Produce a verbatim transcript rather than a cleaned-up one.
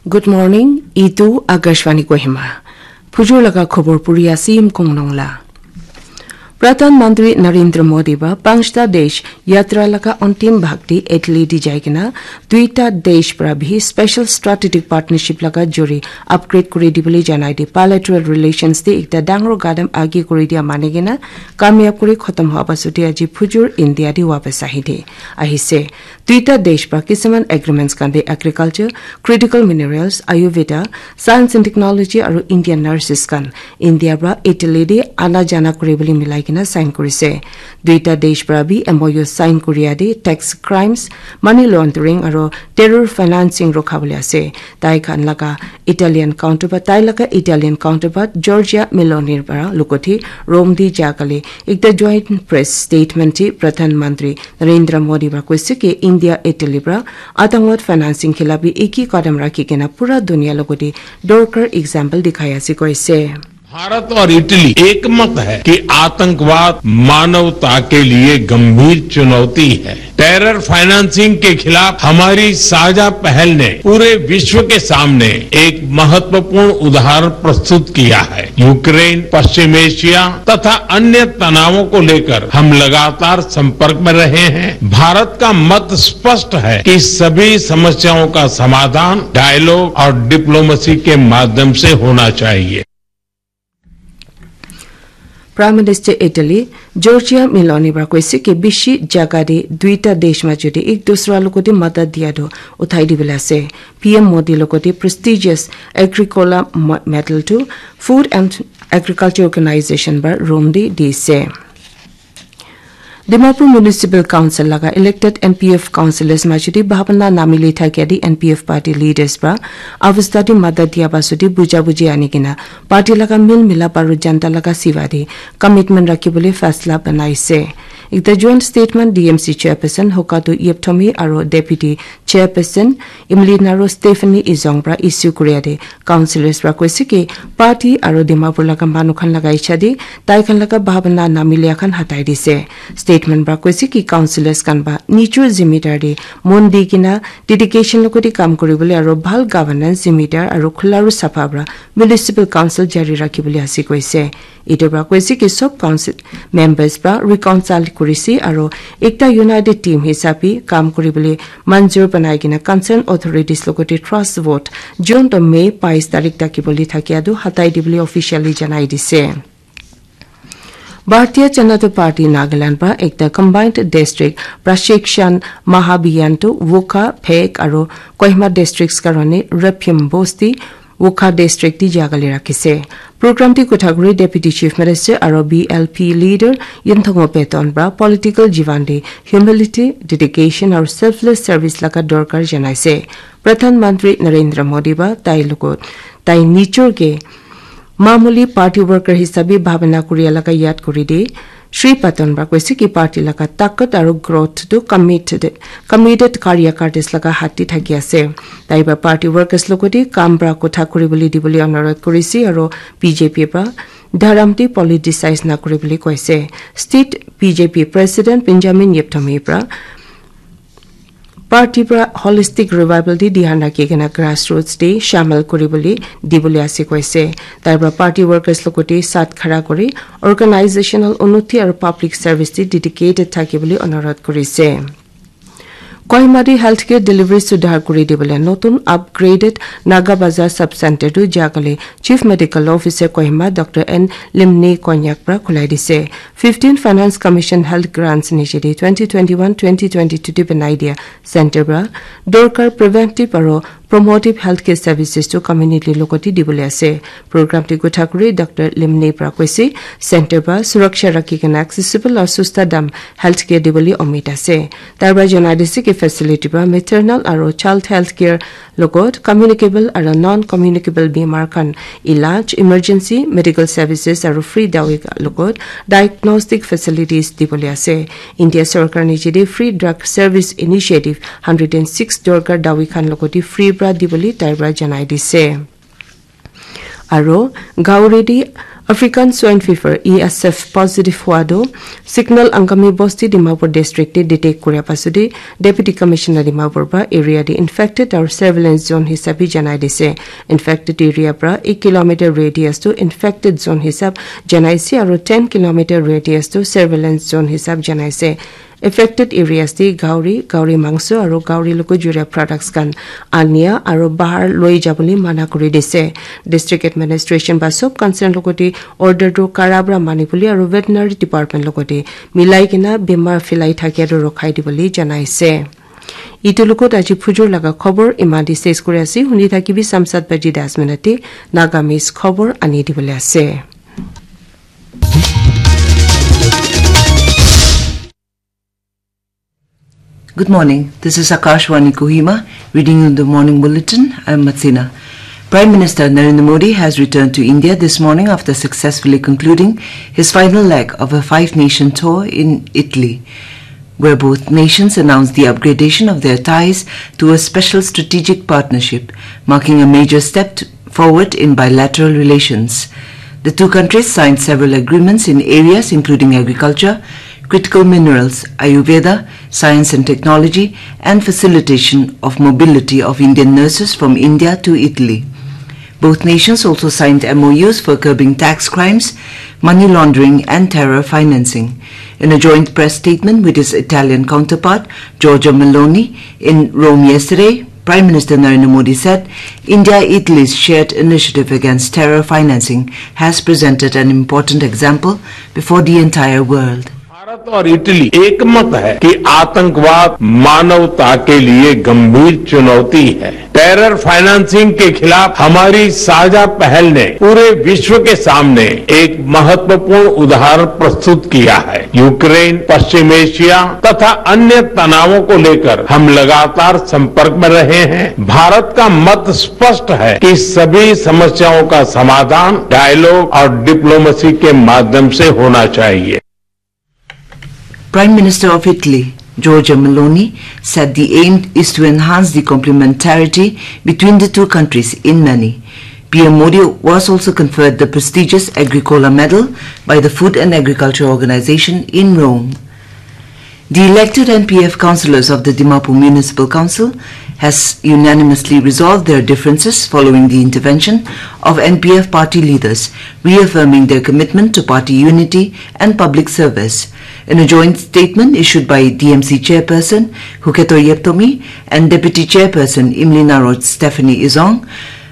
Good morning, itu Akashvani Kohima. Phujur laga khobor puri ase Yimkong Nongla. Pradhan Mantri Narendra Modi ba Panchta Desh Yatra laga antim bhag te Italy di jai kena duita desh pra bhi special strategic partnership laga jori upgrade kuri dibole janai di bilateral relations te ekta dangor gadam age kuri dia mani kena kamyab kuri khotom hoa pasute aji phujur India di wapas ahi di ahise. Duita desh pra kisuman agreements khan te agriculture, critical minerals, Ayurveda, science and technology aru Indian nurses khan India pra Italy te ana jana kuri bole milai kena sign kurise. Duita desh pra bi M O U sign kuria te tax crimes, money laundering aru terror financing rokha bole ase. Tai khan laga Italian counterpart, tai laga Italian counterpart Giorgia Meloni pra lokoti Rome di jakale ekta joint press statement ti Pradhan Mantri Narendra Modi pra koise ki India Italy pra atangwad financing khilap bi eki kadam rakhi kena pura dunia logoti dorkar example dikhai ase koise. भारत और इटली एकमत है कि आतंकवाद मानवता के लिए गंभीर चुनौती है। टेरर फाइनेंसिंग के खिलाफ हमारी साझा पहल ने पूरे विश्व के सामने एक महत्वपूर्ण उदाहरण प्रस्तुत किया है। यूक्रेन, पश्चिम एशिया तथा अन्य तनावों को लेकर हम लगातार संपर्क में रहे हैं। भारत का मत स्पष्ट है कि सभी समस्याओं का समाधान डायलॉग और डिप्लोमेसी के माध्यम से होना चाहिए। Prime Minister Italy Giorgia Meloni pra koise ki bishi jaga de duita desh ma jodi ek dusra logote madat dia do uthai dibole ase. P M Modi logote prestigious Agricola mo- medal to Food and Agriculture Organization pra Rome de dise. Dimapur Municipal Council laga elected N P F councillors majudi bhabna namili thakia di N P F party leaders pra avastha di madat dia pasudi buja buji ani kena party laga mil milap aru janta laga siva di commitment rakhi bole faisla banaise. Ekta joint statement D M C chairperson Hokatu Yepthomi aru deputy chairperson Imlinaro Stephanie Izong pra issue kuria de councillors pra koise ki party aru Dimapur laga manu khan laga icha de tai khan laga bhabna namilia khan hatai dise. Statement pra koise ki councillors khan ba nijor zimidar de mon di kena dedication logote kam kuri bole aru bhal governance zimidar aru khula aru sapha pra municipal council jari rakhi bole ase koise. Etu pra koise ki sob council members pra reconcile kurise aru ekta united team hisabe kam kuri bole manjur banai kena concerned authorities logote trust vote June to May bais tarik taki bole thakia tu hatai dibole officially janai dise. Bharatiya Janata Party Nagaland pra ekta combined district prashikshan mahabhiyan tu Wokha, Phek aru Kohima districts karone Rephim Bosti Wokha district di jaga le rakhise. Program di kotha kuri Deputy Chief Minister aru B L P leader Yinthongo Peton pra political jivan di humility, dedication aru selfless service laga dorkar janaise. Pradhan Mantri Narendra Modi ba tai logot tai nijor ke mamuli party worker hisabe bhabna kuria laga yad kuri di. Shri Patton pra koise ki party laga takat aru growth tu committed, committed karya kartis laga hath te thaki ase. Tai pra party workers logote kam pra kotha kuri bole dibole anurodh kurise aru B J P pra dharam te politicize na kuri bole koise. State B J P President Benjamin Yepthomi pra party pra holistic revival te dhyan rakhi kena grassroots te shamil kuri bole dibole ase koise. Tai pra party workers logote sat khara kuri organizational unnoti aru public service te dedicated thaki bole anurodh kurise. Kohima te healthcare delivery sudhar kuri dibole notun upgraded Naga Bazar Sub Center tu jakale Chief Medical Officer Kohima Doctor N Limne Konyak pra khulai dise. Fifteen Finance Commission Health Grants niche de twenty twenty-one twenty twenty-two te banai dia center pra dorkar preventive aru promotive healthcare services to community logote dibole ase. Program te kotha kuri Doctor Limne pra koise center pra suraksha rakhi kena accessible aru susta dam healthcare dibole umid ase. Tai pra janai dise ki facility pra maternal aru child healthcare logot communicable aru non communicable bimar khan ilaj, emergency medical services aru free dawi logot diagnostic facilities dibole ase. India sorkar niche de Free Drug Service Initiative hundred and six dorkar dawi khan logote free pra dibole tai pra janai dise. Aru Gauredi African Swine Fever, E S F, positive hua tu Signal Angami Bosti, Dimapur District te detect kuria pasudi Deputy Commissioner Dimapur pra area te infected aru surveillance zone hisab bi janai dise. Infected area pra ek kilometer radius tu infected zone hisab janaise aru ten kilometer radius tu surveillance zone hisab janaise. Affected areas te gauri, gauri mangso aru gauri logo juria products khan ania aru bahar loi jabole mana kuri dise. District administration ba sob concern logote order tu kara pra mani bole aru veterinary department logote milai kena bemar philai thakia tu rokhai dibole janaise. Itu logot aji phujur laga khobor imadi ses kuri ase. Huni thakibi samsat baji das minute Nagamese khobor ani dibole ase. Good morning. This is Akashvani Kohima reading you the morning bulletin. I'm Matsina. Prime Minister Narendra Modi has returned to India this morning after successfully concluding his final leg of a five-nation tour in Italy, where both nations announced the upgradation of their ties to a special strategic partnership, marking a major step t- forward in bilateral relations. The two countries signed several agreements in areas including agriculture, critical minerals, Ayurveda, science and technology, and facilitation of mobility of Indian nurses from India to Italy. Both nations also signed M O Us for curbing tax crimes, money laundering, and terror financing. In a joint press statement with his Italian counterpart, Giorgia Meloni, in Rome yesterday, Prime Minister Narendra Modi said India Italy's shared initiative against terror financing has presented an important example before the entire world. भारत और इटली एकमत है कि आतंकवाद मानवता के लिए गंभीर चुनौती है। टेरर फाइनेंसिंग के खिलाफ हमारी साझा पहल ने पूरे विश्व के सामने एक महत्वपूर्ण उदाहरण प्रस्तुत किया है। यूक्रेन, पश्चिम एशिया तथा अन्य तनावों को लेकर हम लगातार संपर्क में रहे हैं। भारत का मत स्पष्ट है कि सभी समस्याओं का समाधान डायलॉग और डिप्लोमेसी के माध्यम से होना चाहिए। Prime Minister of Italy, Giorgia Meloni, said the aim is to enhance the complementarity between the two countries in many. P M Modi was also conferred the prestigious Agricola Medal by the Food and Agriculture Organization in Rome. The elected N P F councillors of the Dimapur Municipal Council has unanimously resolved their differences following the intervention of N P F party leaders, reaffirming their commitment to party unity and public service. In a joint statement issued by D M C chairperson Huketo Yeptomi and deputy chairperson Imlina Road Stephanie Izong,